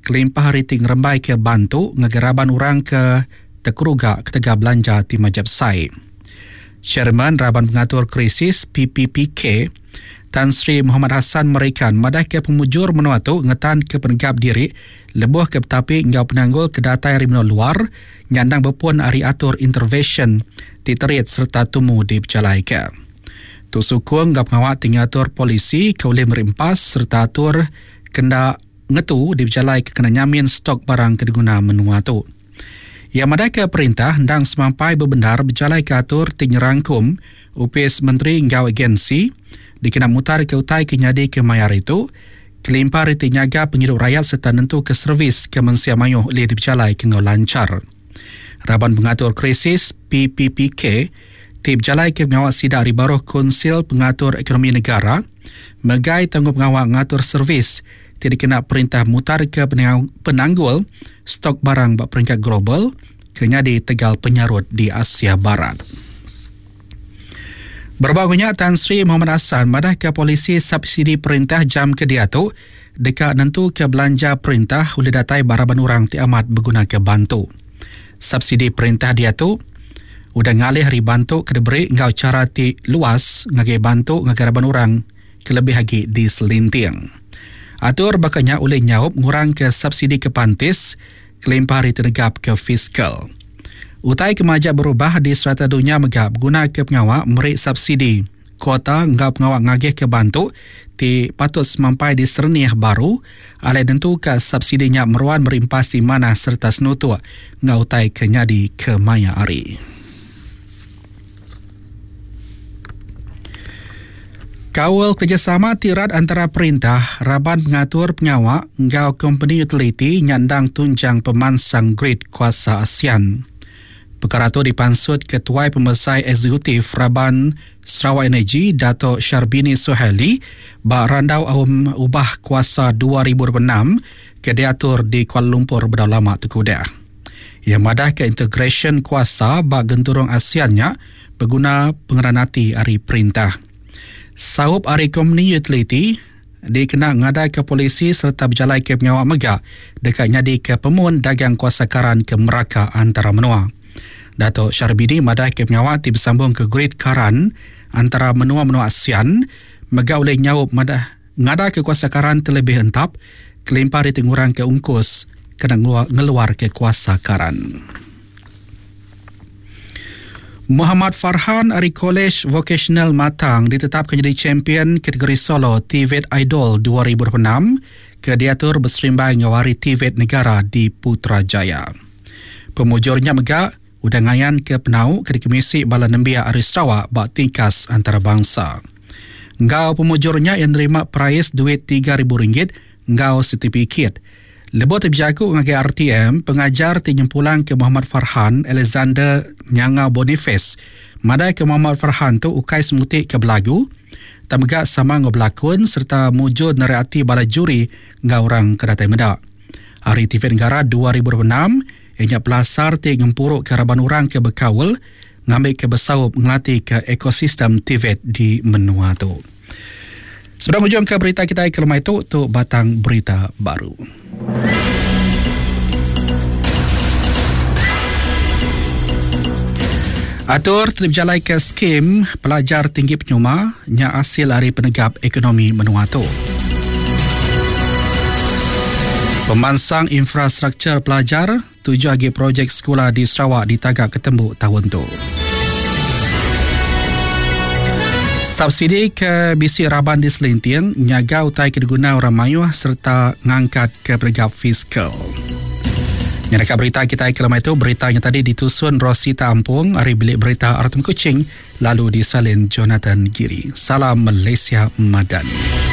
kelimpah ari ti ngerembaika bantu ngagai raban orang ke tekeruga ketegal belanja ti majak besai. Chairman Raban Pengatur Krisis PPPK, Tan Sri Mohamad Hassan Merikan madahka pemujur menua tu ngetanka penegap diri lebuh ke betapi enggau penanggul ke datai ari menua luar nya endang bepun ari atur intervesyen ti terit sereta tumu dipejalaika. Tu sukung enggau pengawa ti ngatur polisi ke ulih meri empas sereta atur ke enda ngetu dipejalaika kena nyamin stok barang ke diguna menua tu. Iya madahka perintah endang semampai bebendar bejalaika atur ti nyerangkum opis menteri enggau agensi dikena mutarka utai ke nyadi ke maya hari tu kelimpah ari ti nyaga pengidup rayat sereta nentuka servis ke mensia mayuh ulih dipejalaika enggau lanchar. Raban Pengatur Krisis, PPPK, ti bejalaika pengawa sida ari baruh Kunsil Pengatur Ekonomi Negara megai tanggungpengawa ngatur servis ti dikena perintah mutarka penanggul stok barang ba peringkat global ke nyadi tegal penyarut di Asia Barat. Berebak enggau nya, Tan Sri Mohamad Hassan madahka polisi subsidi perintah jam ke diatu deka nentuka belanja perintah ulih datai ba raban orang ti amat begunaka bantu. Subsidi perintah diatu udah ngalih ari bantu ke diberi enggau chara ti luas ngagai bantu ngagai raban orang kelebih agi di selinting. Atur baka nya ulih nyaup ngurangka subsidi ke pantis kelimpah ari tenegapka fiskal. Utai ke majak berubah di serata dunya mega begunaka pengawa meri subsidi, kuota enggau pengawa ngagihka bantu ti patut semampai diserenih baru alai nentuka subsidi nya meruan meri empas ti manah sereta senutuk enggau utai ke nyadi kemaya hari. Kaul kerejasama ti rat antara perintah, raban pengatur pengawa enggau kompeni utiliti nya endang tunjang pemansang grid kuasa ASEAN. Pekara tu dipansut Ketuai Pemesai Eksekutif Raban Sarawak Energy Dato Sharbini Suhaili ba randau Aum Ubah Kuasa 2026 ke diatur di Kuala Lumpur bedau lama tu ke udah. Iya madahka integrasyen kuasa ba genturung ASEAN nya beguna pengeran ati ari perintah. Saup ari kompeni utiliti dikena ngadaka polisi sereta bejalaika pengawa mega deka nyadika pemun dagang kuasa karan ke meraka antara menua. Dato Sharbini madahka pengawa ti besambungka grid karan antara menua-menua ASEAN mega ulih nyaup madah Ngadaka kuasa karan ti lebih entap kelimpah ari ti ngurangka ungkus kena ngeluarka kuasa karan. Muhammad Farhan ari Kolej Vokasional Matang ditetapka nyadi champion kategori solo TVET Idol 2026 ke diatur beserimbai enggau Hari TVET Negara di Putrajaya. Pemujur nya mega udah ngayanka penau ke dikemisi bala nembiak ari Sarawak ba tikas antarabangsa. Enggau pemujur nya iya nerima perais duit RM3,000 enggau setipikit. Lebuh ti bejaku ngagai RTM, pengajar ti nyempulangka Muhammad Farhan, Alexander Nyangau Boniface madahka Muhammad Farhan tu ukai semuti ke belagu tang mega sama enggau belakun sereta mujur narit ati bala juri enggau orang ke datai meda. Hari TV Negara 2026 iya nya pelasar ti ngempuruka raban orang ke bekaul ngambika besaup ngelatika ekosistem TVET di menua tu. Sebedau ngujungka berita kitai ke lemai tu, tu batang berita baru. Atur ti dipejalaika skim pelajar tinggi penyuma nya asil ari penegap ekonomi menua tu. Pemansang infrastruktur pelajar Tujuh agi projek sekula di Sarawak ditaga ke tembu taun tu. Subsidi ke bisi raban diselinting nyaga utai ke diguna orang mayuh sereta ngangkatka penegap fiskal. Nyadaka berita kitai ke lemai tu, berita nya tadi ditusun Rosita Ampung ari Bilik Berita Artem Kuching lalu disalin Jonathan Giri. Salam Malaysia Madani.